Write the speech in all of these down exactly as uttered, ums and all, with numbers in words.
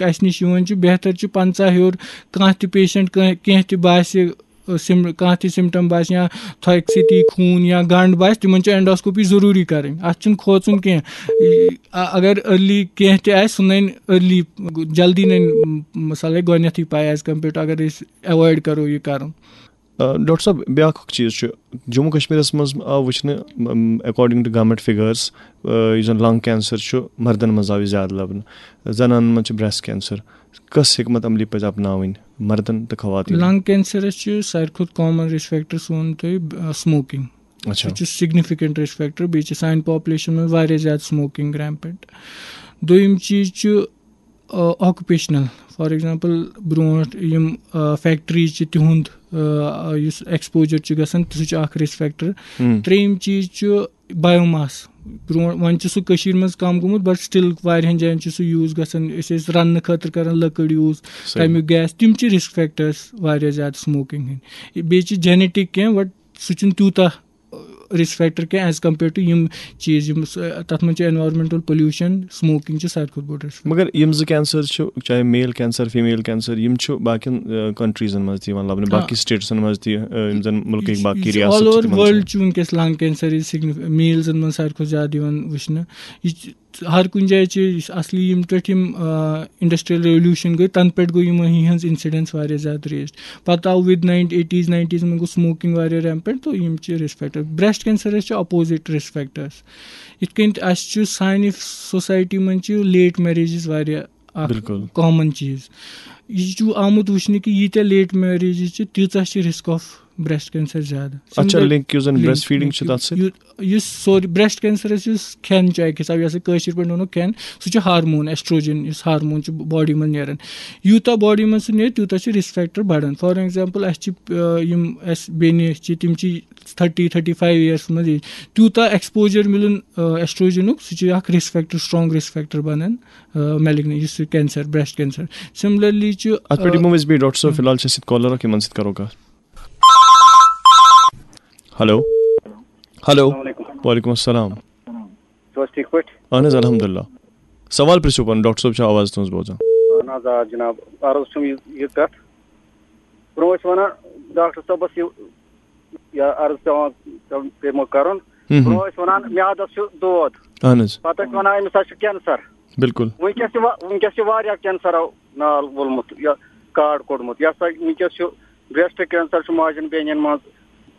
اَسہِ نِش یِوان چھُ، بہتر چھُ پنٛژاہ ہیوٚر کانٛہہ تہِ پیشنٹ، کانٛہہ کینٛہہ تہِ باسہِ، سِم کانٛہہ تہِ سِمٹم باسہِ یا تھۄکہِ سۭتی خوٗن یا گنٛڈ باسہِ، تِمن چھِ اینڈوسکوپی ضروٗری کرٕنۍ، اتھ چھُنہٕ کھوژُن کینٛہہ۔ اگر ارلی کینٛہہ تہِ آسہِ، سُہ ننہِ ارلی، جلدی ننہِ، مثالے گۄڈٕنیتھٕے پاے، ایز کمپیئر ٹو اگر أسۍ ایوائڈ کرو یہِ کرُن۔ ڈاکٹر صٲب، بیٛاکھ اکھ چیٖز چھُ، جموں کشمیٖرس منٛز آو وٕچھنہٕ، اکارڈنگ ٹو گورمنٹ فگرس، یُس زن لنگ کینسر چھُ، مردن منٛز آو یہِ زیادٕ لبنہٕ، زنانن منٛز چھُ بریسٹ کینسر۔ کۄس حکمت عملی پزِ اپناوٕنۍ مردن تہٕ خواتین؟ لنگ کینسرس چھُ ساروی کھۄتہٕ کامن رسک فیکٹر، سون تُہۍ، سموکنگ۔ اچھا۔ سُہ چھُ سگنیفکینٹ رسک فیکٹر، بیٚیہِ چھِ سانہِ پاپولیشن منٛز واریاہ زیادٕ سموکنگ ریمپینٹ۔ دوٚیِم چیٖز چھُ آکوپیشنل، فار ایگزامپل برونٛٹھ یِم فیکٹریز چھِ، تِہُنٛد، آ، یُس ایکسپوجر چھُ گژھان، سُہ چھُ اکھ رسک فیکٹر۔ ہم۔ ترٛیٚیِم چیٖز چھُ بایوماس۔ برونٛٹھ وۄنۍ چھُ سُہ کٔشیٖر منٛز کم گوٚمُت، بٹ سٹل واریاہن جاین چھُ سُہ یوٗز گژھان۔ أسۍ ٲسۍ رننہٕ خٲطرٕ کران لٔکٕر یوٗز، صحیح۔ تمیُک گیس، تِم چھِ رسک فیکٹرس واریاہ زیادٕ سموکنگ ہٕنٛدۍ۔ بیٚیہِ چھِ جینیٹک کینٛہہ، بٹ سُہ چھُنہٕ تیوٗتاہ رسک فیکٹر کینٛہہ ایز کمپیئر ٹو یِم چیٖز، یِم س- تتھ منٛز چھُ انوائرمنٹل پولوشن، سموکنگ چھِ ساروی کھۄتہٕ بوٚڑ رسک۔ مگر یِم زٕ کینسر چھِ، چاہے میل کینسر، فیمیل کینسر، یِم چھِ باقین کنٹریزن منٛز تہِ یِوان لبنہٕ، آ۔ باقی سٹیٹسن منٛز تہِ، یِم زن مُلکٕکۍ باقی ریاست آل چھِ، اوور تِمن ورلڈ چھِ۔ چھُ وٕنکیٚس لنگ کینسر سگنیف میلزن منٛز ساروی کھۄتہٕ زیادٕ یِوان وٕچھنہٕ۔ یہِ چھِ ہر کُنہِ جایہِ چھِ یہِ چھِ اصلی یِم پٮ۪ٹھ یِم انڈسٹریل ریولوشن گٔے، تنہٕ پٮ۪ٹھ گوٚو یِمن ہٕنٛز انسیڈنس واریاہ زیادٕ ریز۔ پتہٕ آو ود ناینٹی ایٹیز ناینٹیز منٛز گوٚو سموکنگ واریاہ ریمپینٹ، تہٕ یِم چھِ رسک فیکٹر۔ بریسٹ کینسرس چھِ اپوزٹ رسک فیکٹرس۔ یِتھ کٔنۍ تہِ اَسہِ چھُ سانہِ سوسایٹی منٛز چھِ لیٹ میریجز واریاہ اکھ بِلکُل۔ کامن چیٖز۔ یہِ چھُ آمُت وٕچھنہٕ کہِ ییٖتیٛاہ لیٹ میریجز چھِ، تیٖژاہ چھِ رسک آف بریسٹ کینسر زیادٕ۔ اچھا، Similar- لنک یُس زن link- بریسٹ فیڈنگ چھِ link- تتھ سۭتۍ؟ یُس- یُس سورُے بریسٹ کینسرس یُس کھٮ۪ن چھُ اکہِ حساب، یۄس کٲشِر پٲٹھۍ ونو کھٮ۪ن، سُہ چھُ ہارمون ایسٹروجن، یُس ہارمون چھُ باڈی منٛز نیران۔ یوٗتاہ باڈی منٛز سُہ نیرِ، تیوٗتاہ چھُ رسک فیکٹر بڑان۔ فار ایگزامپل، اَسہِ چھِ، آ، یِم اَسہِ بیٚنہِ چھِ، تِم چھِ تھٔٹی تھٔٹی فایو ییئرس منٛز age، تیوٗتاہ ایکسپوجر مِلُن، آ، ایسٹروجنُک، سُہ چھُ اکھ risk factor, strong risk factor بنان، آ، میلگنی، یُس یہِ کینسر، بریسٹ کینسر۔ سملرلی چھُ، اتھ پٮ۪ٹھ آ، یِمو أسۍ بیٚیہِ، ڈاکٹر صٲب، فی الحال چھِ اَسہِ سۭتۍ کالر اکھ، یِمن سۭتۍ کرو کتھ۔ ہیلو۔ ہیلو۔ السلام علیکم۔ وعلیکم السلام۔ چھِو حظ ٹھیٖک پٲٹھۍ؟ اہن حظ، الحمدللہ۔ سوال پرٛژھِو پنُن، ڈاکٹر صٲب چھا آواز تُہنٛز بوزان؟ اہن حظ، آ جناب، عرض چھُم یہِ یہِ کتھ۔ برونٛہہ ٲسۍ ونان ڈاکٹر صٲبس یہِ یا عرض پٮ۪وان پٮ۪وان پیٚومُت کرُن۔ ہم ہم۔ برونٛہہ ٲسۍ ونان میادس چھُ دود، اہن حظ۔ پتہٕ ٲسۍ ونان أمِس حظ چھُ کینسر۔ بِلکُل۔ وٕنکیٚس چھِ وا- وٕنکیٚس چھِ واریاہ کینسرو نال وولمُت یا کارڈ کوٚڑمُت۔ یہِ ہسا وٕنکیٚس چھُ بریسٹ کینسر، چھُ ماجن بیٚنٮ۪ن منٛز،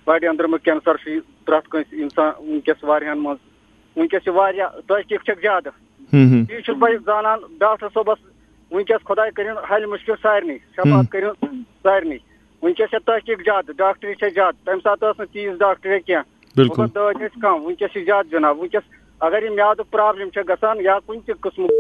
بڑِ أنٛدرمُک کینسر چھُ یہِ پرٛٮ۪تھ کٲنٛسہِ انسان وٕنکیٚس واریاہن منٛز۔ وٕنکیٚس چھِ واریاہ تحقیق چھکھ زیادٕ۔ ہم ہم۔ یہِ چھُس بہٕ زانان ڈاکٹر صٲبس، وٕنکیٚس خۄداے کٔرِن حل مُشکل سارنٕے، شفاعت کٔرِن سارنٕے۔ وٕنکیٚس چھےٚ تحقیق زیادٕ، ڈاکٹری چھےٚ زیادٕ۔ تمہِ ساتہٕ ٲس نہٕ تیٖژ ڈاکٹری کینٛہہ۔ بِلکُل۔ مگر دٲدۍ ٲسۍ کم، وٕنکیٚس چھِ زیادٕ جناب۔ وٕنکیٚس اگر یہِ میادُک پرابلم چھےٚ گژھان یا کُنہِ تہِ قٕسمُک،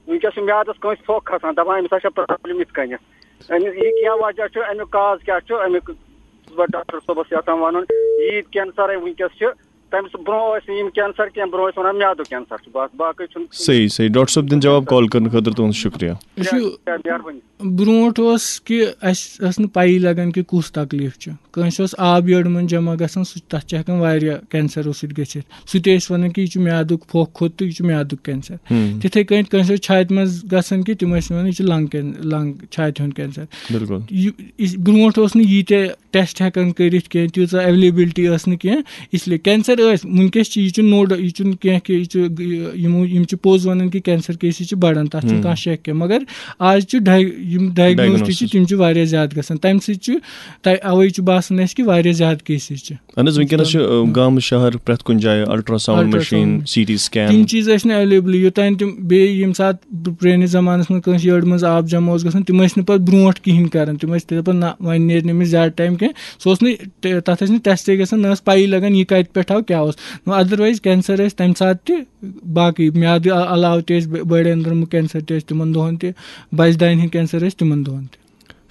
وٕنکیٚس چھُ میادس کٲنٛسہِ پھۄکھ کھسان، دپان أمِس ہا چھےٚ پرابلم یِتھ کٔنٮ۪تھ۔ أمِس یہِ کیٛاہ وجہ چھُ، امیُک کاز کیٛاہ چھُ، امیُک چھُس بہٕ ڈاکٹر صٲبس یژھان ونُن۔ ییٖتۍ کینسر وٕنکیٚس چھِ، تمہِ سۭتۍ برونٛہہ ٲسۍ نہٕ یِم کینسر کینٛہہ، برونٛہہ ٲسۍ ونان میادُک کینسر چھُ۔ بس باقٕے چھُنہٕ۔ صحیح، صحیح۔ ڈاکٹر صٲب دِن جواب کال کرنہٕ خٲطرٕ تُہُنٛد شُکریہ۔ یہِ چھُ مہربٲنی۔ برونٛٹھ اوس کہِ اَسہِ ٲس نہٕ پَیی لَگان کہِ کُس تکلیٖف چھُ۔ کٲنٛسہِ اوس آب یٔڑ منٛز جمع گژھان، سُہ تَتھ چھِ ہٮ۪کان واریاہ کینسرو سۭتۍ گٔژھِتھ۔ سُہ تہِ ٲسۍ وَنان کہِ یہِ چھُ میادُک پھۄکھ کھوٚت تہٕ یہِ چھُ میادُک کینسر۔ ہم۔ تِتھَے کٔنۍ کٲنٛسہِ اوس چھاتہِ منٛز گژھان کہِ تِم ٲسۍ وَنان یہِ چھُ لنٛگ کین-، لنٛگ، چھاتہِ ہُنٛد کینسر۔ بِلکُل۔ یہِ، یہِ برونٛٹھ اوس نہٕ ییٖتیٛاہ ٹیسٹ ہٮ۪کان کٔرِتھ کینٛہہ، تیٖژاہ اویلیبلٹی ٲس نہٕ کینٛہہ۔ اس لیے کینسر ٲسۍ، وٕنکیٚس چھِ، یہِ چھُ نوڈ-، یہِ چھُنہٕ کینٛہہ کہِ یہِ چھُ، یِمو، یِم چھِ پوٚز وَنان کہِ کینسر کیسز چھِ بَڑان، تَتھ چھُنہٕ ہم۔ کانٛہہ شک کینٛہہ۔ مگر آز چھُ ڈاے-، یِم ڈایگنوز تہِ چھِ، Diagnosis۔ تِم چھِ واریاہ زیادٕ گژھان۔ تَمہِ سۭتۍ چھُ، تَ-، اَوَے چھُ باسان اَسہِ کہِ واریاہ زیادٕ کیسز چھِ۔ اہن حظ، وٕنکیٚنَس چھِ، آ، گامہٕ شہر پرٛٮ۪تھ کُنہِ جایہِ ultrasound Ultrasound machine, machine. C T scan. تِم چیٖز ٲسۍ نہٕ اویلیبل۔ یوٚتام تِم بیٚیہِ ییٚمہِ ساتہٕ پرٛٲنِس زمانَس منٛز کٲنٛسہِ یٔڑ منٛز آب جمع اوس گژھان، تِم ٲسۍ نہٕ پَتہٕ برونٛٹھ کِہیٖنۍ کَران۔ تِم ٲسۍ دَپان، نہ، وۄنۍ نیرِ نہٕ أمِس زیادٕ ٹایم کینٛہہ۔ سُہ اوس نہٕ ٹ-، تَتھ ٲسۍ نہٕ ٹیسٹٕے گژھان، نہ ٲس پَیی لَگان یہِ کَتہِ پٮ۪ٹھ آو، کیٛاہ اوس۔ نہ، otherwise کینسر ٲسۍ تَمہِ ساتہٕ تہِ باقٕے میادٕ ع-، علاوٕ تہِ ٲسۍ بٔ-، بٔڑۍ أنٛدرمہٕ کینسر تہِ ٲسۍ تِمَن دۄہَن تہِ، بَچہٕ دانہِ ہِنٛدۍ کینسر ٲسۍ تِمَن دۄہَن تہِ۔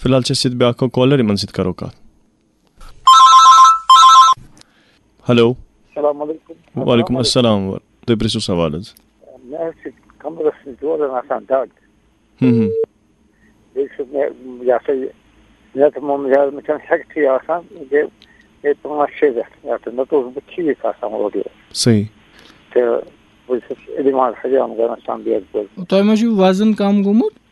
فی الحال چھِ اَسہِ سۭتۍ بیٛاکھ اَکھ کالر، یِمَن سۭتۍ کَرو کَتھ۔ ہیلو۔ السلام علیکم۔ وعلیکم السلام۔ تُہۍ پرٛژھِو سوال حظ۔ مےٚ حظ چھِ کمرس دوران آسان دگ۔ ہم ہم۔ بیٚیہِ چھُ مےٚ، یہِ ہسا یہِ، مےٚ تہٕ مُمہٕ زیادٕ مےٚ چھَنہٕ ہٮ۪کتھٕے آسان۔ بیٚیہِ گٔے پانٛژھ شےٚ رٮ۪تھ یَتھ، نَتہٕ اوسُس بہٕ ٹھیٖک آسان اورٕ یورٕ۔ صحیح۔ تہٕ بہٕ چھُس دِوان حجام کران سام بیگ پٲٹھۍ۔ تۄہہِ ما چھُو وزن کم گوٚمُت؟